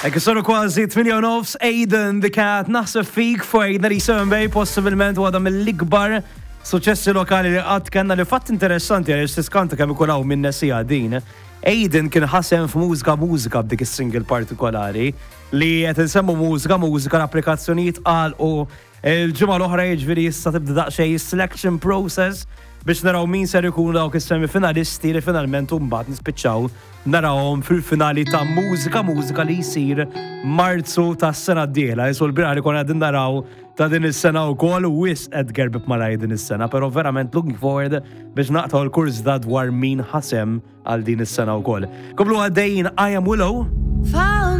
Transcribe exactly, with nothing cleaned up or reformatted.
Ekk soru kważi tmienja u nofs, Aiden the Cat, "Naħseb Fik" fuq eight ninety-seven Bay, possibilment waħda mill-ikbar suċessi lokali li qatt kellna, li fatt interessanti għaliex tiskanta kemm ikun hawn minn nesija din. Aiden kien ħa sehem f'Mużika Mużika b'dik is-single partikolari li qed insemmu Mużika Mużika, l-applikazzjonijiet qal u il-ġimgħa l-oħra, jiġifieri issa tibda daqsxejn selection process biex naraw min ser ikunu dawk is-semifinalisti li finalment mbagħad nispiċċaw narawhom fil-finali ta' Mużika Mużika li jsir Marzu tas-sena d-dieħla. Jisu l-bieraħ li konna qegħdin naraw ta' din is-sena wkoll u wisq qed gerbib malaj din is-sena, però verament looking forward biex naqtaw l-kurs da dwar min ħa sehem għal din is-sena wkoll. Komplu għaddejjin, I Am Willow. Found